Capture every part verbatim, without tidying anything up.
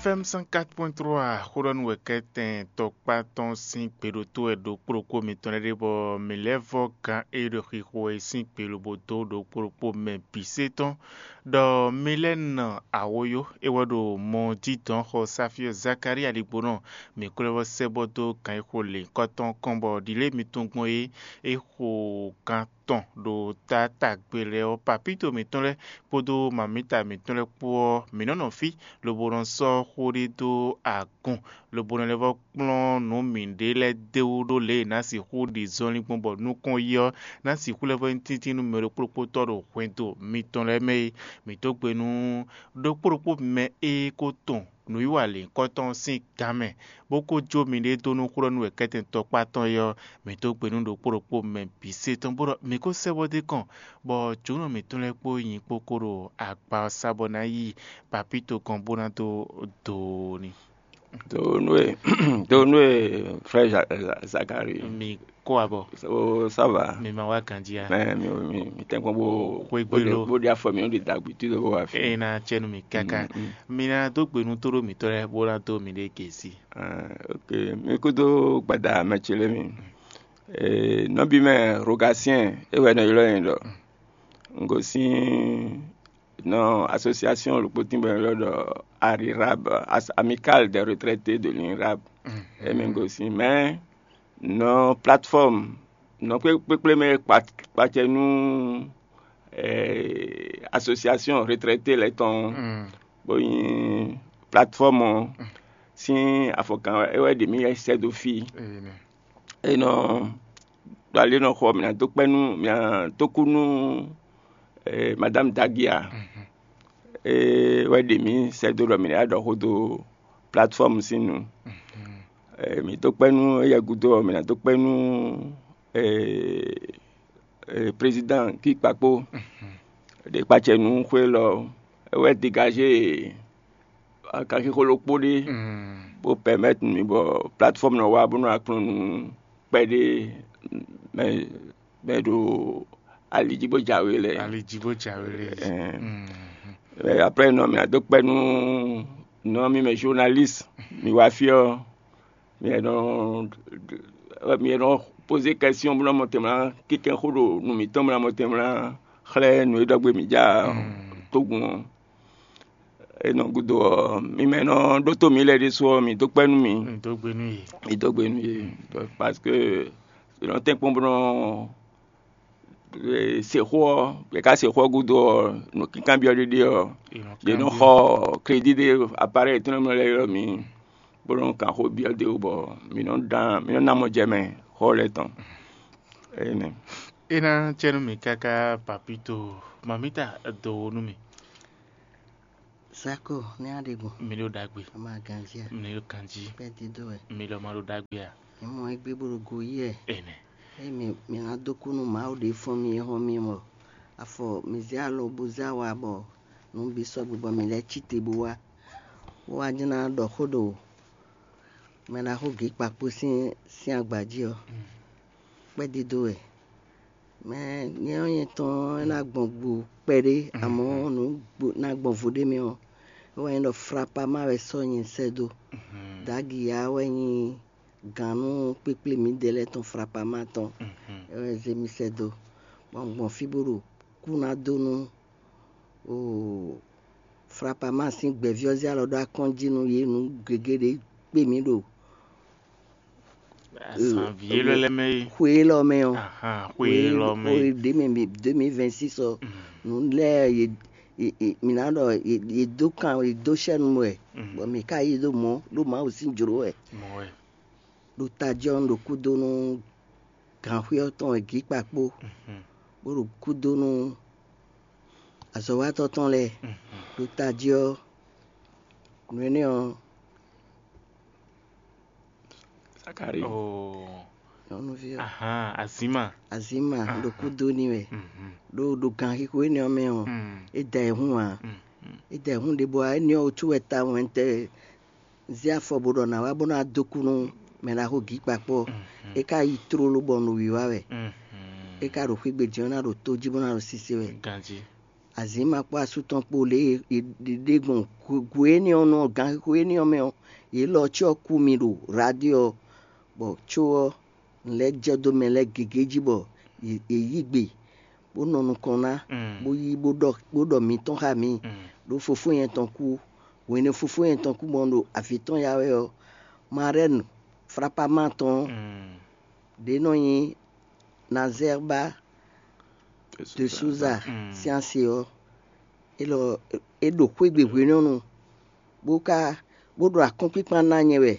Fɛ́m cent quatre point trois xó ɖɔ nú wɛ kɛ́tɛn tɔkpá tɔn sín gbe ɖo tó wɛ ɖokpó ɖokpó mitɔn lɛ́ɛ ɖe, bɔ mǐ lɛ́ vɔ́ gán e ɖo xixo wɛ é sín gbe lobo dó ɖokpó ɖokpó mɛ bǐ sé tɔn, ɖɔ mi lɛ́ nɔ awǒyó é wɛ ɖo mɔ jí dɔn xɔ Safíɔ Zakalía ɖigbonɔ, mǐ ko lɛ́ vɔ́ sɛ́ bɔ dó gǎn e xo lěhunkɔtɔn kɔn bɔ ɖǐlé mitɔn gbɔn é é xo gán tɔn ɖo taátagbe lɛ́ɛ ɔ́, papíto mǐtɔn lɛ́ɛ kpódó mamǐta mǐtɔn lɛ́ɛ kpó ɔ́, mǐ nɔ́ nɔ fí lobo nɔ sɔ́ xó ɖé dó agun, lobo nɔ lɛ́ vɔ́ kplɔ́n nǔ mǐɖée lɛ́ɛ d'é wú ɖó lě e è nǎ sixú ɖi zɔnlin gbɔn bɔ nukɔn yi ɔ́ ná sixú lɛ́ vɔ́ nyí tíntín nú mɛ ɖokpó ɖokpótɔ́ ɖo hwɛndo mitɔn lɛ́ɛ mɛ é. Mǐ dó gbe nú ɖokpó ɖokpó mɛ e ko tɔn nǔwiwa lěhunkɔtɔn sín gǎn mɛ, bó ko jó miɖée dó nú xwlɔ́nú wɛ kɛ́tɛn tɔkpá tɔn é ɔ́, mǐ dó gbe nú ɖokpó ɖokpó mɛ bǐ sé tɔn, bó ɖɔ mǐ ko sɛ́ bɔ dó kɔn, bɔ jǒnɔ mǐtɔn lɛ́ɛ kpó nyi kpó ko ɖo agba ɔ́ sá bɔ ná yi papíto gɔ́n bó ná dó do n'i. Do nú e do nú e frère Za- Za- Zakari. Mi kó abɔ. O, ça va? Mi ma wá ganjí a? Mɛ mi mi mi tɛnkpɔn bó Xwé gbé ló. Bó ɖi afɔ mi ó ɖi dagbi tí ló bó wá fi. Eye na tsɛ nú mi káká. Mm, mm. Mi na dó gbe nú tóɖó mǐtɔn lɛ́ɛ bó ná dó mi ɖe gěsi. Ah, ok. Mi kúdó gbada mɛ ce lé mi. Eh, nɔbí mɛ Rogatien é wɛ nɔ ylɔ́ yẹn ɖɔ. N gosín nɔ association ɖokpó tín bɔ è nɔ ylɔ́ ɖɔ Arirab, As- Amicale des retraités de l'Inrab. Émi gosín, mais nɔ plateforme nɔ kpékpé mɛ kpa- kpacɛ nú eh, association retraités lɛ́ɛ tɔn, bó nyí plateforme ɔ́ sín afɔkan é wɛ ɖe mì sɛ́ dó fí. Enɔ ɖo ali nɔ xɔ mǐ ná dó kpɛ́ nú mǐ ná dó kú nú eh, madame Dagia. É wɛ ɖe mǐ sɛ́ dó ɖɔ mǐ ná ɖɔ xó dó plateforme sín nu. Eh, mǐ dó kpɛ́ nú éyɛ́ gúdo ɔ́, mǐ ná dó kpɛ́ nú eh, eh, président Guy Kpakpo. Ɖe kpacɛ nú xwé lɔ é wɛ dégagé akanxixo ɖokpó ɖé bó permettre mǐ bɔ plateforme nɔ wá bó nɔ wá kplɔ́n nú kpɛɖé mɛ mɛ ɖo ali jí bó jǎwe lɛ. Ali jí bó jǎwe lɛ. Ɛɛ, après nɔ mǐ adó kpɛ́ nú nɔ mí mɛ journaliste mi wá fí ɔ́, mi e nɔ mi e nɔ poser question bó nɔ mɔ tɛnmɛ ná kíkɛ́n xó ɖo nǔ mǐtɔn bó nɔ mɔ tɛnmɛ ná xlɛ́ nǔ e ɖɔ gbé mǐ ja tógun ɔ́. Enɔ gúdo ɔ́, mi mɛ nɔ ɖótó mǐ lɛ́ɛ ɖésú ɔ́, mi dó kpɛ́ nú mì. Mi dó gbe nú yě. Mi dó gbe nú yě. Parce que è nɔ tɛ́nkpɔ́n bó nɔ se xó ɔ́, è ka se xó ɔ́ gúdo ɔ́, nǔkínkanbyɔ́ ɖé ɖé ɔ́, yě nɔ xɔ crédit ɖé appareil étɛ́nɛ́ mɛ lɛ́ɛ ylɔ́ mǐ, bó nɔ kan xó byɔ́ dó wú bɔ mǐ nɔ dán mǐ nɔ ná mɔ jɛ mɛ xó lɛ́ɛ tɔn. Énɛ́. É ná cɛ nú mì káká papito mamita do wo nú mì. Sako ní aɖegun. Mi ɖo ɖagbe. Ama ganzia. Mi ɖo kanjí. Pɛ dídó ɛ. Mi lɔ ma ɖo ɖagbe a? Ìmọ̀ ẹgbẹ́ gbòdògò yí ɛ. Ɛnɛ. Eye mi mi ná dó kú nú Mawu ɖě fɔ́n mi é hɔn mi mɔ. Afɔ mi zé alɔ bó zé awa bɔ nǔ bǐ sɔgbe bɔ mi lɛ́ cí te bó wá. Bó wá jɛ́n ná ɖɔ xó ɖo mɛ ná xó gě kpakpó sín sín agba jí ɔ́. Kpɛ́ dídó wɛ. Mɛ nyɛ ɔ́ nyɛ tɔn é ná gbɔn gbo kpɛɖé, amɔ̌ nǔ ná gbɔn vo ɖé mɛ ɔ́, é wɛ nyí ɖɔ Flapama wɛ sɔ́ nyɛ sɛ́ dó. Dagiyá wɛ nyí gǎn nú kpékplé mǐdɛɛ lɛ́ɛ tɔn Flapama tɔn, é wɛ zé mì sɛ́ dó. Bɔ un gbɔn fí bó ɖo kú ná dó nú oo Flapama sín gbɛ̌ví ɔ́ zé alɔ ɖó akɔ́n jí nú yě nǔ gěgé ɖé kpé mǐ ɖo Azǎn vǐ élɔ́ lɛ́ɛ mɛ é. Xwe élɔ́ mɛ ɔ́. Ahan, xwe élɔ́ mɛ é. Xwe deux mille vingt-six ɔ́, nǔ lɛ́ɛ yě yě- yě- mǐ ná ɖɔ yě yě dó kan yě dó sɛ́nu wɛ, bɔ mǐ ka yí ɖó mɔ̌ ɖó Mawu sín jlǒ wɛ. Mɔ̌ wɛ. Ɖo tají ɔ́, un ɖo kúdó nú gǎnxwé ɔ́ tɔn wɛ gǐ kpakpó, bó ɖo kúdó nú azɔ̌watɔ́ tɔn lɛ́ɛ. Ɖo tají ɔ́, nǔ énɛ́ ɔ́, Zakari. Oo. Nyɔnuvi ɔ́. Ahan, azǐma. Azǐma ɖo kúdó n'i wɛ. Ɖo ɖo ganxixo énɛ́ ɔ́ mɛ ɔ́, é da ɛ hún ǎ. É da ɛ hún ɖěbǔ ǎ, énɛ́ ɔ́ wútu wɛ tawun wɛ un tɛ zé afɔ bó ɖɔ nǎ wá bó ná dó kú nú mɛ ɖaxó gǐ kpakpɔ́. É ka yi tlóló bɔ un ɖo wǐwá wɛ. É ka ɖo xwé gbe din ɔ́ ná ɖo tó jí bó ná ɖo sise wɛ. Ganjí. Azǐma kpó asú tɔn kpó lě e è ɖe gbɔn hwe énɛ́ ɔ́ nú ɔ́, ganxixo énɛ́ ɔ́ mɛ ɔ́, yě lɔ cyɔ kú mi ɖo radio ɔ́, bɔ có ɔ́, un lɛ́ jɛ dó mɛ lɛ́ɛ gěgé jí bɔ yě yí gbe, bó nɔ nukɔn ná, bó yí bó ɖɔ bó ɖɔ mǐtɔn xá mǐ, ɖó fofó nyɛ tɔn kú. Hwenu e fofó nyɛ tɔn kú bɔ un ɖo avǐ tɔn ya wɛ ɔ́, Marɛ́nu Flapama tɔn ɖě nɔ nyí Nazɛ́rba de Souza sín asi ɔ́, é lɔ é ɖo xwé gbe hwenɔ́nu, bó ka bó ɖo akɔ́nkpíkpan ná nyɛ wɛ,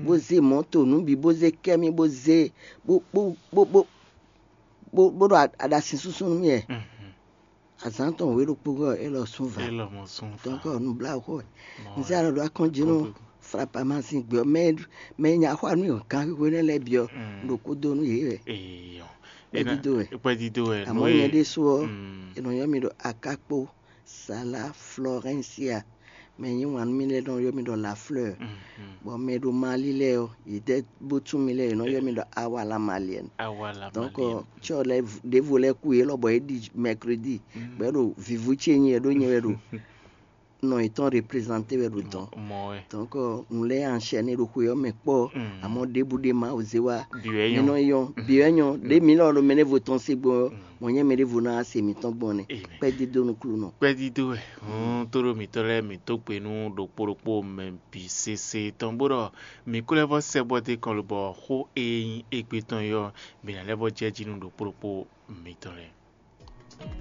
bó zé mɔ̌to nǔ bǐ, bó zé kɛ́ mì, bó zé bó bó bó bó bó bó ɖo aɖasin súnsún nú mì wɛ. Azǎn tɔn wě ɖokpó gɔ́ é lɔ sún va. Élɔ́ mɔ sún fa. Donc nǔbláwǔxó wɛ. Un zé alɔ ɖo akɔ́njí nú Flapama sín gbɛ ɔ́, mɛ mɛ nya xó anú gǎn xwixwe nɛ́ lɛ́ɛ bǐ ɔ́, un ɖo kó dó nú yě wɛ. Eyɔ. Kpɛ́dídó wɛ. Kpɛ́dídó wɛ. Àmọ́ nyɛ ɖésú ɔ́, è nɔ ylɔ́ mì ɖɔ Akákpó Sala Florencia. Mɛ nyí wǎn nú mì lɛ́ɛ nɔ ylɔ́ mì ɖɔ La Fleur. Bɔ mɛ ɖo Mali lɛ́ɛ ɔ́, yě dɛ́ bó tún mì lɛ́ɛ, yě nɔ ylɔ́ mì ɖɔ Awala Malienne. Awala Donc Malienne. Cyɔ lɛ́ɛ ɖěvo lɛ́ɛ kú yě lɔ bɔ é ɖi mercredi, bɔ é ɖo vivu ce nyi wɛ ɖó nyɛ wɛ ɖo nɔ yětɔn représenter wɛ ɖo dɔn. Mɔ wɛ. Donc un lɛ́ enchaîner ɖo xwe ɔ́ mɛ kpɔ́, àmọ́ ɖěbǔ ɖé Mawu zé wá. Bǐ wɛ mí nyɔ́. Nɔ yɔn bǐ wɛ nyɔ́ ɖé mí lɔ ɖo mɛ ɖěvo tɔn se gbɔn ɔ́, mɔ nyɛ mɛ ɖěvo ná se mǐtɔn gbɔn nɛ. Amen. Kpɛ́dídó nú Klúnɔ. Kpɛ́dídó wɛ. Tó ɖo mǐtɔn lɛ́ɛ mǐ dó gbe nú ɖokpó ɖokpó mɛ bǐ sese tɔn bó ɖɔ mǐ kú lɛ́ vɔ́ sɛ bɔ dé kɔn lobɔ xó e nyí égbé tɔn yɔ mǐ ná lɛ́ vɔ́ jɛ jí nú ɖokpó ɖokpó mǐtɔn lɛ́ɛ.